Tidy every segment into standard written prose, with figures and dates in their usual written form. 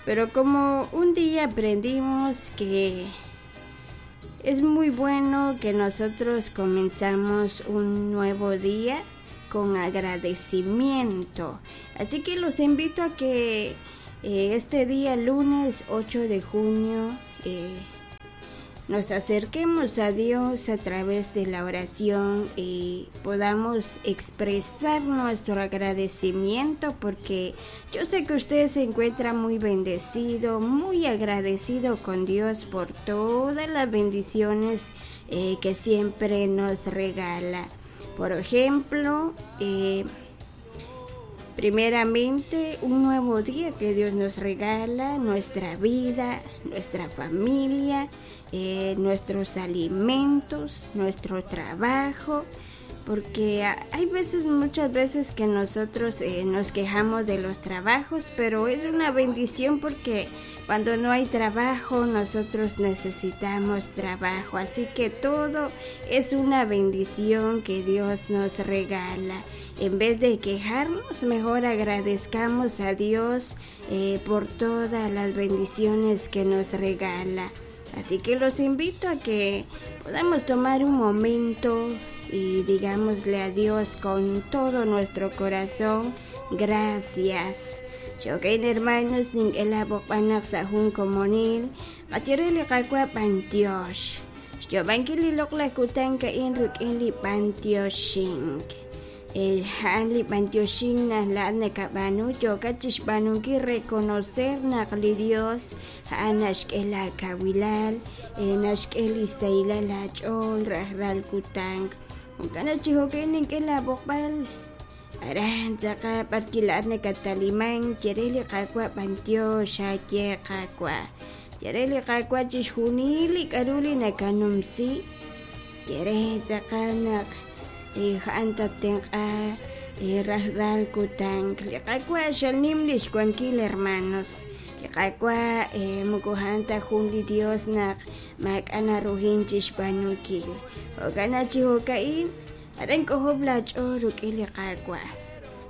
Pero como un día aprendimos que es muy bueno que nosotros comenzamos un nuevo día con agradecimiento. Así que los invito a que eh, este día lunes 8 de junio eh, nos acerquemos a Dios a través de la oración y podamos expresar nuestro agradecimiento porque yo sé que usted se encuentra muy bendecido, muy agradecido con Dios por todas las bendiciones eh, que siempre nos regala. Por ejemplo, eh, primeramente un nuevo día que Dios nos regala, nuestra vida, nuestra familia, eh, nuestros alimentos, nuestro trabajo, porque hay veces, muchas veces que nosotros eh, nos quejamos de los trabajos, pero es una bendición porque cuando no hay trabajo, nosotros necesitamos trabajo. Así que todo es una bendición que Dios nos regala. En vez de quejarnos, mejor agradezcamos a Dios eh, por todas las bendiciones que nos regala. Así que los invito a que podamos tomar un momento y digámosle a Dios con todo nuestro corazón, gracias. Jo'kan hermanos nink'e laab'oqb'al naq sa' jun komonil qachire li Qaawa' b'antiox. Xyoob'ankil li loq'laj kutan ka'in rik'in li b'antioxink. A'an li b'antioxink naq laa'at nakab'aanu yookat chixb'aanunkil reconocer naq li Dios a'an naxk'e laa kawilal, naxk'e li sahilal aach'ool rajlal kutan. Jo'kan naq chi jo'kan nink'e laa b'oqb'al Aran tzaqa b'ar kila'at nakatalimank, ye re li Qaawa' b'antiox aaye Qaawa'. Ye re li Qaawa' chixjunil li k'a'ru li nakanumsi. Ye re tz'aqal naq a'an tattenq'a rajlal kutan. Li Qaawa' xal nim lix wankil, hermanos. Li Qaawa' moko a'an ta jun li Dios naq maak'a' naruhin chixb'aanunkil. Jo'kan naq chi jo'ka'in, Aran k'ojob' laach'ool rik'in li Qaawa'.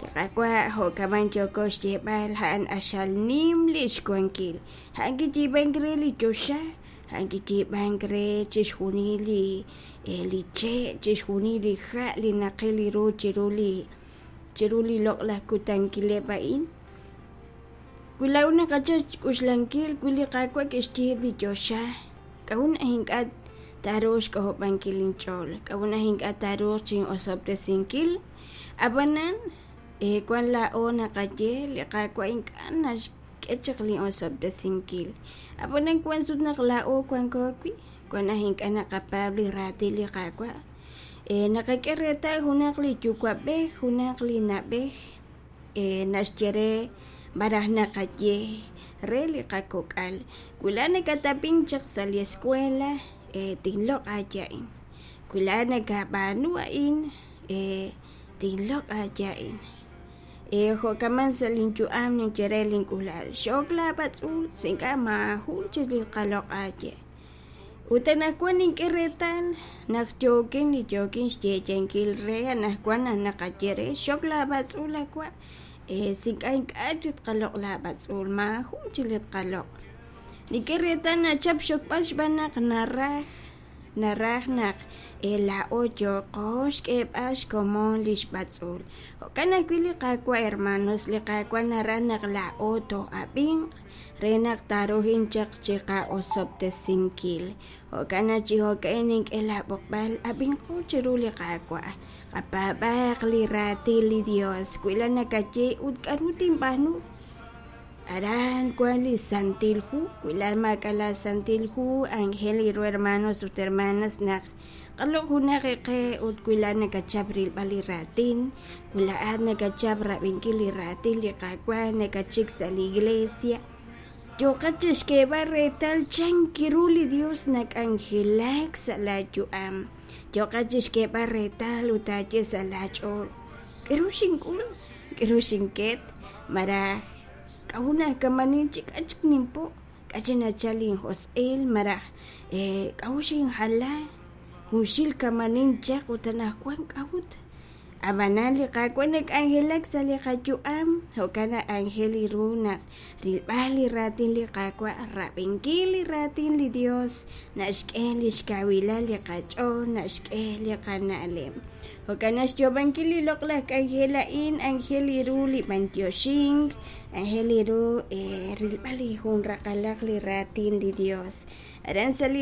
Li Qaawa' jo'kaman yooko xyeeb'al a'an q'axal nim li xwankil. A'an kiyiib'ank re li choxa, a'an kiyiib'ank re chixjunil li eh, li che', chixjunil li ha' li naqil ru chiru li chiru li loq'laj kutankileb' a'in. Wi laa'o naqachal xk'uxlankil wi li Qaawa' kixyiib' li choxa, k'a'ut naq ink'a' taaruuq xk'ojob'ankil inch'ool? K'a'ut naq ink'a' taaruuq chin'osob'tesinkil? Ab'anan, eh, wan laa'o naqaye li Qaawa' ink'a' naxk'e chaq lin osob'tesinkil. Ab'anan wan sut naq laa'o wanko wi', wan naq ink'a' naqapaab' li raatin li Qaawa'. Eh, naqak'e reetal junaq li yuwa'b'ej, junaq li na'b'ej, naxye re malaj naqaye re li qakok'al, wi laa'at nakatab'ink chaq sa' li escuela tinloq' aaye a'in, wi laa'at nakab'aanu a'in tinloq' aaye a'in. Jo'kaman sa' linyu'am ninye re link'uula'al xok laab'atz'uul si ink'a' maajun chik li tqaloq' aaye. Ut anaqwan nink'e reetal naq yookin li yookin xyeeyankil re anaqwan naq naqaye re xok laab'atz'uul awa' eh, si ink'a' ink'a' chik tqaloq' laab'atz'uul maajun chik li tqaloq'. Nink'e reetal nachap xokb'al xb'aan naq naraj naraj naq eh, laa'o yooqo xk'eeb'al xkomon li xb'atz'uul. Jo'kan ajwi' li Qaawa' hermanos, li Qaawa' naraj naq laa'o too'ab'inq re naq taaruhin chaq chiqa'osob'tesinkil. Jo'kan naq chi jo'ka'in nink'e laab'oqb'al, ab'inqo chiru li Qaawa', qapaab'aaq li raatin li Dios, wi la nakaye ut k'a'ru tinb'aanu. Aran wan li Santil Hu, wi la maak'a' la Santil Hu, anjel ru hermanos ut hermanas naq Qaloq' junaq eqe ut wi laa'at nakachap rilb'al li raatin, wi laa'at nakachap rab'inkil li raatin li Qaawa' nakatxik sa' li iglesia, yooqat chixk'eeb'al reetal chan ru li Dios nak'anjelak sa' laa yu'am. Yooqat chixk'eeb'al reetal ut taaye sa' laa ch'ool, K'a'ru xink'ul? K'a'ru xinket? Malaj k'a'ut naq kamanin chik k'a' chik ninpo'? K'a' chi nachal linjosq'il malaj k'a'ut xinjala junxil kamanin chaq ut anaqwan k'a'ut? Ab'anan li Qaawa' nak'anjelak sa' li qayu'am, jo'kan naq aajel ru naq rilb'al li raatin li Qaawa', rab'inkil li raatin li Dios, naxk'e li xkawilal li qach'ool, naxk'e li qana'leb'. Jo'kan naq xyoob'ankil li loq'laj k'anjel a'in aajel ru li b'antioxink, aajel ru rilb'al li jun raqalaq li raatin li Dios. Aran sa' li.